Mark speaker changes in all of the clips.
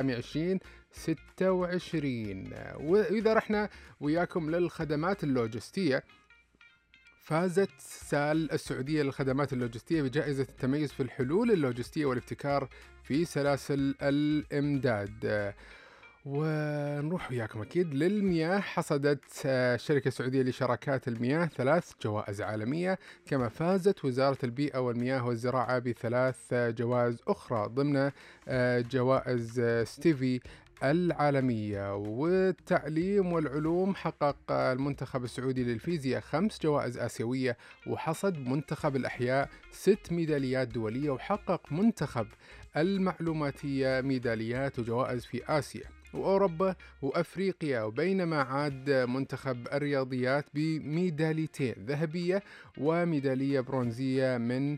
Speaker 1: 2026. وإذا رحنا وياكم للخدمات اللوجستية، فازت سال السعودية للخدمات اللوجستية بجائزة التميز في الحلول اللوجستية والابتكار في سلاسل الإمداد. ونروح وياكم أكيد للمياه. حصدت الشركة السعودية لشراكات المياه 3 جوائز عالمية، كما فازت وزارة البيئة والمياه والزراعة ب3 جوائز أخرى ضمن جوائز ستيفي العالمية. والتعليم والعلوم حقق المنتخب السعودي للفيزياء 5 جوائز آسيوية، وحصد منتخب الأحياء 6 ميداليات دولية، وحقق منتخب المعلوماتية ميداليات وجوائز في آسيا وأوروبا وأفريقيا. وبينما عاد منتخب الرياضيات بميداليتين ذهبية وميدالية برونزية من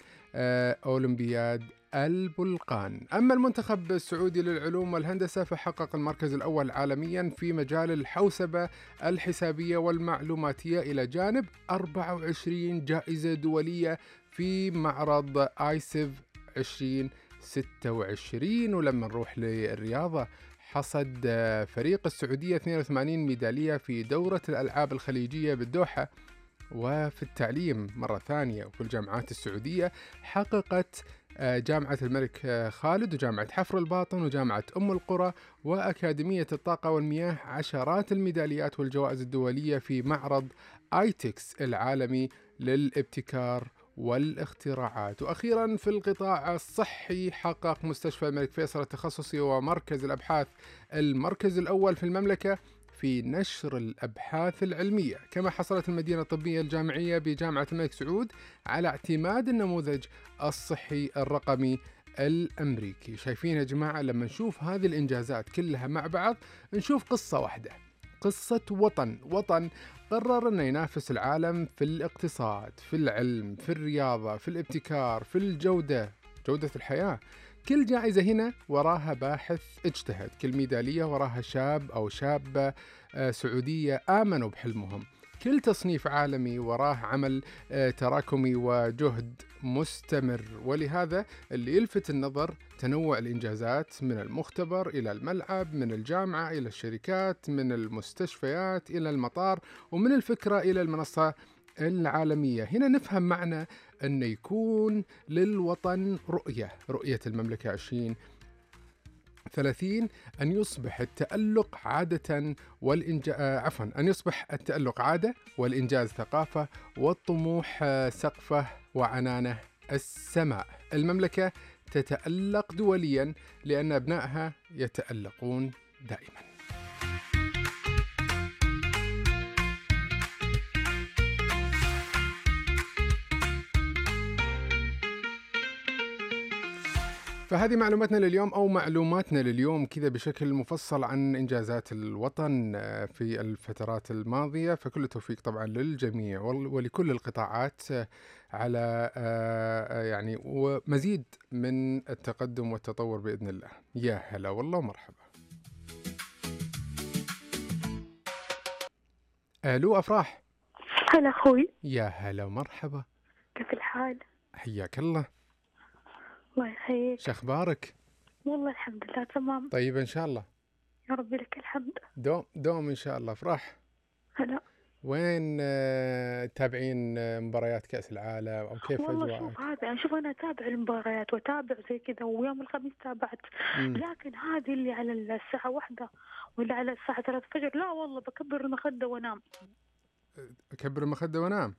Speaker 1: أولمبياد البلقان. أما المنتخب السعودي للعلوم والهندسة فحقق المركز الأول عالميا في مجال الحوسبة الحسابية والمعلوماتية، إلى جانب 24 جائزة دولية في معرض آيسيف 2026. ولما نروح للرياضة، حصد فريق السعودية 82 ميدالية في دورة الألعاب الخليجية بالدوحة. وفي التعليم مرة ثانية، وفي الجامعات السعودية حققت جامعة الملك خالد وجامعة حفر الباطن وجامعة أم القرى وأكاديمية الطاقة والمياه عشرات الميداليات والجوائز الدولية في معرض آيتكس العالمي للابتكار والاختراعات. وأخيرا في القطاع الصحي، حقق مستشفى الملك فيصل التخصصي ومركز الأبحاث المركز الأول في المملكة في نشر الأبحاث العلمية. كما حصلت المدينة الطبية الجامعية بجامعة الملك سعود على اعتماد النموذج الصحي الرقمي الأمريكي. شايفين يا جماعة، لما نشوف هذه الإنجازات كلها مع بعض نشوف قصة واحدة، قصة وطن قرر أن ينافس العالم في الاقتصاد، في العلم، في الرياضة، في الابتكار، في جودة الحياة. كل جائزة هنا وراها باحث اجتهد، كل ميدالية وراها شاب أو شابة سعودية آمنوا بحلمهم، كل تصنيف عالمي وراه عمل تراكمي وجهد مستمر. ولهذا اللي يلفت النظر تنوع الإنجازات، من المختبر إلى الملعب، من الجامعة إلى الشركات، من المستشفيات إلى المطار، ومن الفكرة إلى المنصة العالمية. هنا نفهم معنى أن يكون للوطن رؤية المملكة 2030 أن يصبح التألق أن يصبح التألق عادة، والإنجاز ثقافة، والطموح سقفه، وعنانه السماء. المملكة تتألق دوليا لأن أبنائها يتألقون دائما. فهذه معلوماتنا لليوم كذا بشكل مفصل عن إنجازات الوطن في الفترات الماضية. فكل التوفيق طبعا للجميع ولكل القطاعات على يعني ومزيد من التقدم والتطور بإذن الله. يا هلا والله ومرحبا. ألو أفراح.
Speaker 2: هلا أخوي.
Speaker 1: يا هلا ومرحبا.
Speaker 2: كيف الحال؟
Speaker 1: حياك الله.
Speaker 2: الله يحييك.
Speaker 1: شخبارك؟
Speaker 2: والله الحمد لله تمام.
Speaker 1: طيب إن شاء الله.
Speaker 2: يا ربي لك الحمد.
Speaker 1: دوم إن شاء الله. أفراح،
Speaker 2: هلا.
Speaker 1: وين تابعين مباريات كأس العالم أو كيف
Speaker 2: والله
Speaker 1: أجواءك؟
Speaker 2: شوف أنا أتابع المباريات وأتابع زي كذا، ويوم الخميس تابعت. لكن هذه اللي على الساعة 1 ولا على الساعة 3 الفجر، لا والله بكبر المخدة وأنام.
Speaker 1: أكبر المخدة وأنام؟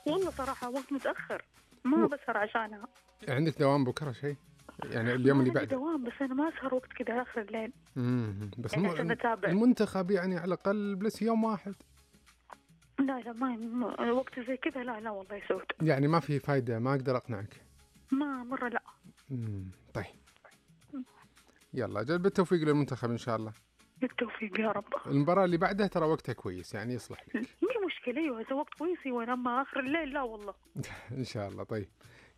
Speaker 2: والله صراحة وقت متأخر ما بسهر عشانها.
Speaker 1: عندك دوام بكرة شيء؟ يعني اليوم اللي بعده؟
Speaker 2: دوام، بس أنا ما أسهر وقت كذا آخر الليل.
Speaker 1: بس
Speaker 2: يعني عشان أتابع
Speaker 1: المنتخب يعني على الأقل بلس يوم واحد.
Speaker 2: لا ما وقت زي كذا لا والله يسود.
Speaker 1: يعني ما في فايدة، ما أقدر أقنعك.
Speaker 2: ما مرة لا.
Speaker 1: طيب يلا جل بالتوفيق للمنتخب إن شاء الله.
Speaker 2: بالتوفيق يا رب.
Speaker 1: المباراة اللي بعدها ترى وقتها كويس، يعني يصلح لك.
Speaker 2: مي مشكلة، أيوة إذا وقت كويس وأنا آخر الليل لا والله.
Speaker 1: إن شاء الله. طيب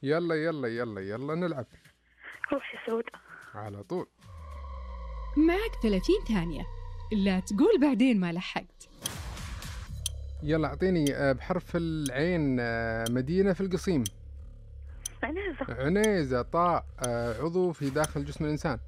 Speaker 1: يلا نلعب.
Speaker 2: روح يا سود
Speaker 1: على طول.
Speaker 3: معك 30 ثانية، لا تقول بعدين ما لحقت.
Speaker 1: يلا أعطيني بحرف العين مدينة في القصيم.
Speaker 2: عنيزة.
Speaker 1: عنيزة. طاء عضو في داخل جسم الإنسان.